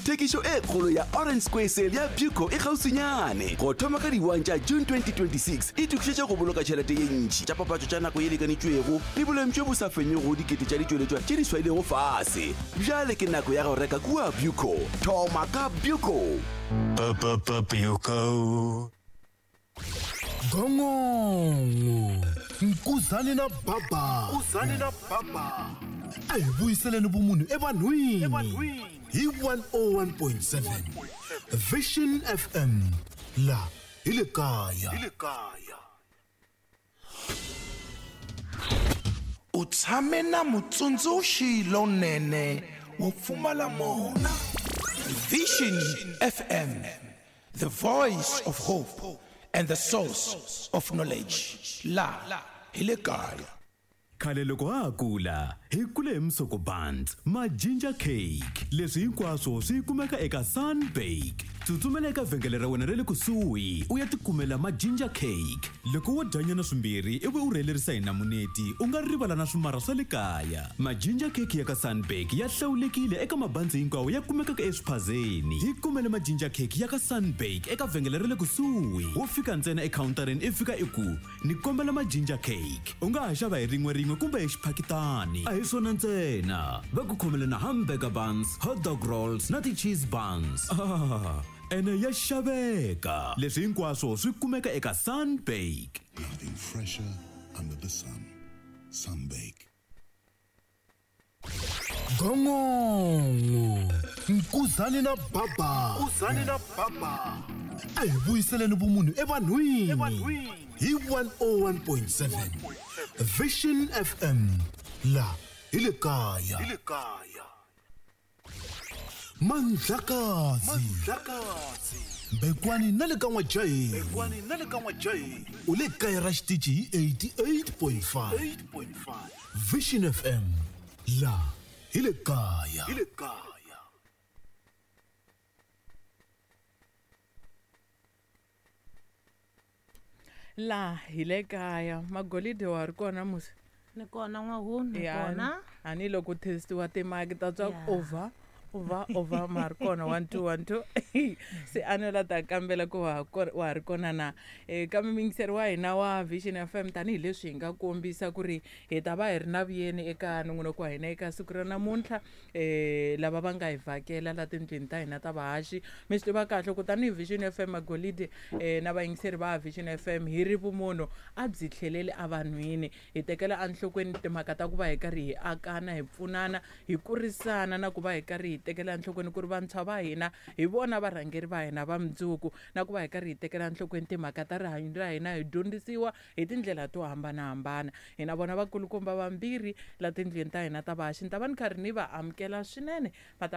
Thekišo e kgolo ya Orange Square Sale ya Pupco e kgauswinyane. Go thoma ka di 1 tša June 2026, itokišetše go boloka tšhelete ye ntši, tša papatšo tša nako ye lekanetšwego le boleng bjo bo sa fenyego dikete tša ditšweletšwa tše di swailego fase. Bjale ke nako ya go reka kua Pupco. Thoma ka Pupco! Pupco. Gongongo Nkuzani na Baba Nkuzani na Baba a hi vuyiseleni vumunhu evanhwini hi 101.7 Vision FM la hi le kaya hi le kaya U tshame na mutsundzuxi lonene wo pfumala mona. Vision FM, the voice of hope and the source of knowledge. La hi le kaya. Khale loko ha ha kula, hi kule hi musoko buns, ma ginger cake. Leswi hinkwaswo swi kumeka eka Sunbake. Tsutsumela eka vhengele ra wena ra le kusuhi u ya tikumela ma ginger cake. Loko wo dyanyana swimbirhi ivi u rhelerisa hi namuneti, u nga rivala na swimarha swa le kaya. Ma ginger cake ya ka Sunbake ya hlawulekile eka mabanzi hinkwawo ya kumekaka eswiphazeni. Hi kumele ma ginger cake ya ka Sunbake eka vhengele ra le kusuhi. Wo fika ntsena ekhawuntarini i fika i ku, Ni kombela ma ginger cake. U nga ha xava hi rin'we-rin'we kumbe hi xiphakitani. A hi swona ntsena, va ku khomele na hamburger buns, hot dog rolls na ti-cheese buns. Ah, ene ya xaveka! Leswi hinkwaswo swi kumeka eka Sunbake. Nothing fresher under the sun. Sunbake. Gongongo Nkuzani na Baba Nkuzani na Baba a hi vuyiseleni vumunhu evanhwini hi 101.7 Vision FM la hi le kaya hi le kaya Mandlakazi Mandlakazi Mbekwani na le ka N'wajaheni Mbekwani na le ka N'wajaheni u le kaya ra xitichi hi 88.5 8.5 Vision FM la hi le kaya hi le kaya Laha hi le kaya magolide wa ha ri kona musi Ni kona n'wahunu ni Ya, kona. a ni loko testiwa timaki ta twa Ya. over over over ma ha ri kona 1 2 1 2 se a no la ta kambela ku wa ha wa ha ri kona na kambe muyingiseri wa hina wa Vision FM tanihileswi hi nga kombisa ku ri hi ta va hi ri na vuyeni eka nongonoko wa hina eka siku ra namuntlha lava va nga hi vhakela la tindlwini ta hina ta vahaxi mi swi tiva kahle ku tanihi Vision FM Magolide na vayingiseri va Vision FM hi ri vumunhu a byi tlheleli evanhwini hi tekela enhlokweni timhaka ta ku va hi karhi hi akana hi pfunana hi kurisana na ku va hi karhi hi tekela enhlokweni ku ri vantshwa va hina hi vona varhangeri va hina va mundzuku na ku va hi karhi hi tekela enhlokweni timhaka ta rihanyo ra hina hi dyondzisiwa hi tindlela to hambanahambana hi na vona vakulukumba vambirhi la tindlwini ta hina ta vahaxi ni ta va ni karhi ni va amukela swinene va ta.